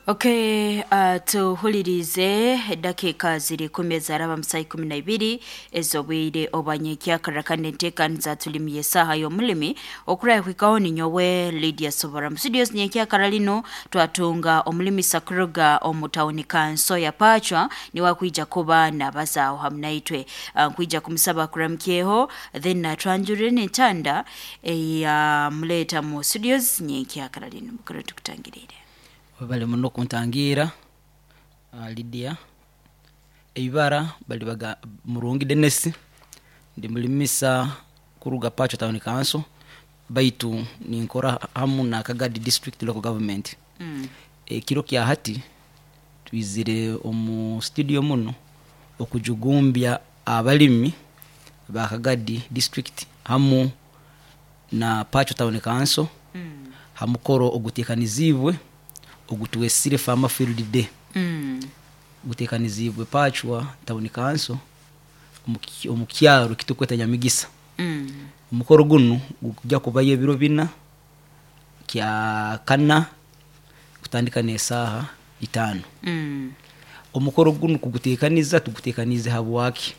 Okay, tuhulirize eddakiika ziri 10 ezaraba mu saa 12 ez'obwire obwanyekyakara, kandi enteekaniza tulimi y'esaaha y'omulimi okurahikaho. Ninyowe Lydia Sobora mu studios. Nyenkyakara lino twatunga omulimisa kuruga omu tawuni kanso ya Pachwa, niwe akwija kuba nabazaaho hamu naitwe. Nkwija kumusaba kuramukyeho, then atwanjurire n'entanda eyamuleeta mu studios nyenkyakara lino. Mukuru, tukutangiriire. Webale muno kuntangiira, Lydia. Eibara bali baga Murungi Denis, ndi mulimisa kuruga Pachwa Town Council, baitu ninkora hamu na Kagadi District Local Government. Ekiro kya hati twizire omu studio muno okujugumbya abalimi ba Kagadi District hamu na Pachwa Town Council ha mukoro oguteekaniziibwe ogutwesire Farmer Field Day. Guteekaniziibwe Pachwa Town Council omu kyaro ekitukweta Nyamigisa. Omukoro gunu gukujja kubayo ebiro 4, kya kana kutandika n'esaaha 5. Omukoro gunu kuguteekaniza, tuguteekaniize habwaki?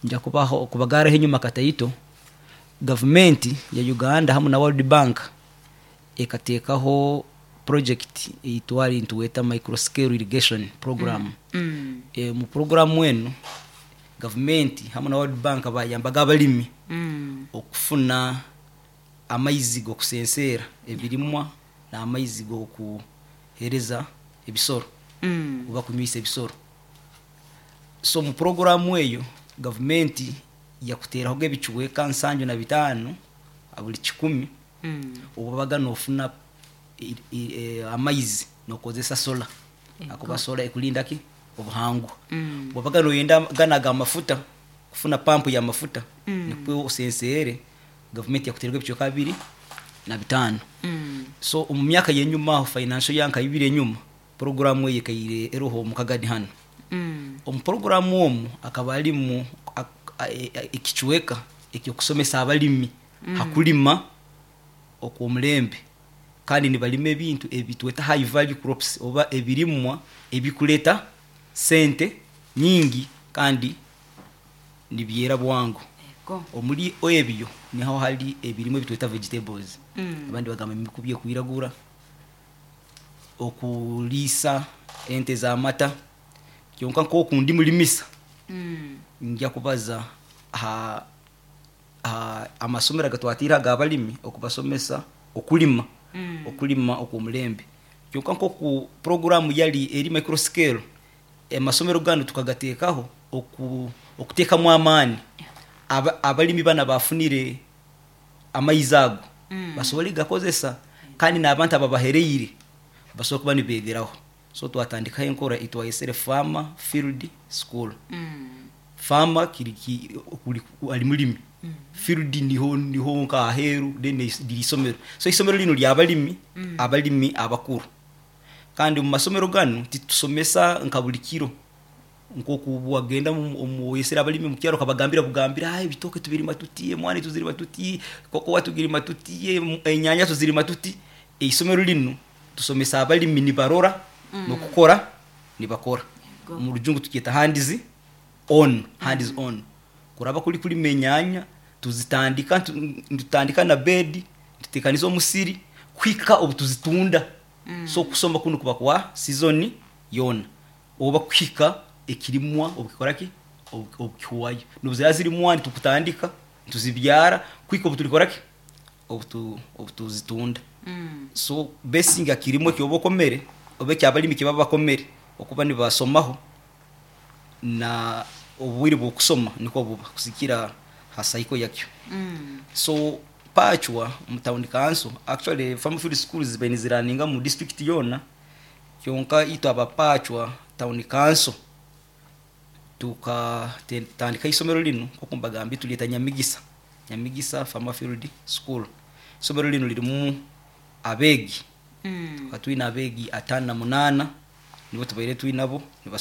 Nja kubaho kubagaraho enyuma kataito. Gavumenti ya Uganda hamu na World Bank ekateekaho project eitwali nituweta microscale irrigation program. Mu programu enu, gavumenti hamu na World Bank bayambaga abalimi okufuna amaizi g'okusenseera ebirimwa n'amaizi g'okuheereza ebisoro oba kunywisa ebisoro. So mu programu eyo, gavumenti yakuteerahoga ebicweka 75 buli 100 obubaga nofuna amaizi nokozesa solar, akuba solar ekulinda ki obuhangwa. Bwobaga noyenda gana ag'amafuta, kufuna pampu y'amafuta nikwo osenseere, gavumenti yakuteeraga ebicweka 25. So omu myaka y'enyuma aho, financial year nka 2 enyuma, programu eyo ekaire eroho omu Kagadi hanu. Omu programu omu akaba alimu ekicweka ekyokusomesa abalimi hakulima okw'omulembe, kandi nibalima ebintu ebitweta high value crops oba ebirimwa ebikuleta sente nyingi kandi nibyera bwangu. Omuri ebyo niho hari ebirimwa ebitweta vegetables, abandi bagamba emikubi ekwiragura, okuliisa ente z'amata. Kyonka nk'oku ndi mulimisa, nja kubaza ha amasomero agatwatiire ag'abalimi okubasomesa okulima okw'omulembe. Kyonka nk'oku programu yali eri microscale, amasomero ganu tukagateekaho okuteekamu amaani abalimi banu abafunire amaizi ago basobole kugakozesa, kandi n'abantu ababahereire basobole kuba nibeegeraho. So twatandikaho enkora eitwayesere Farmer Field School. Farmer kiri ali mulimi, field niho nka aheeru, then liri isomero. So isomero linu ly'abalimi, abalimi abakuru. Kandi omu masomero ganu titusomesa nka buli kiro nk'oku wagenda oyesere abalimi omu kyaro okabagambira bugambira, ebitooke tubirima tuti, emwani tuzirima tuti, kokowa tugirima tuti, enyanya tuzirima tuti. Eisomero linu tusomesa abalimi nibarora n'okukora nibakora. Omu Rujungu tukyeta hands on, hands on. Kuraba kuri kulima enyanya, tuzitandika, nitutandika na bed, tuteekaniza omusiri kuhika obu tuzitunda. So okusoma kunu kuba kwa season yoona oba kuhika ekirimwa obukikora ki, obukihwayo. N'obu ziraba ziri mwani, tukutandika nituzibyara kuhika obu turikora ki, obu tuzitunda. So basing ha kirimwa eki oba okomere oba ekyabalimi eki baba bakomere okuba nibasomaho, na obwire bw'okusoma nikwo buba kusigikira ha cycle yakyo. So Pachwa mu town council, actually farm field schools zibaire niziraninga mu district yoona, kyonka itwe aba Pachwa Town Council tukatandika isomero linu nk'oku mbagambire, tulyeta Nyamigisa, Nyamigisa Farmer Field School. Isomero linu lirimu abeegi, tukaba twine abeegi 58 nibo tubaire twinabo.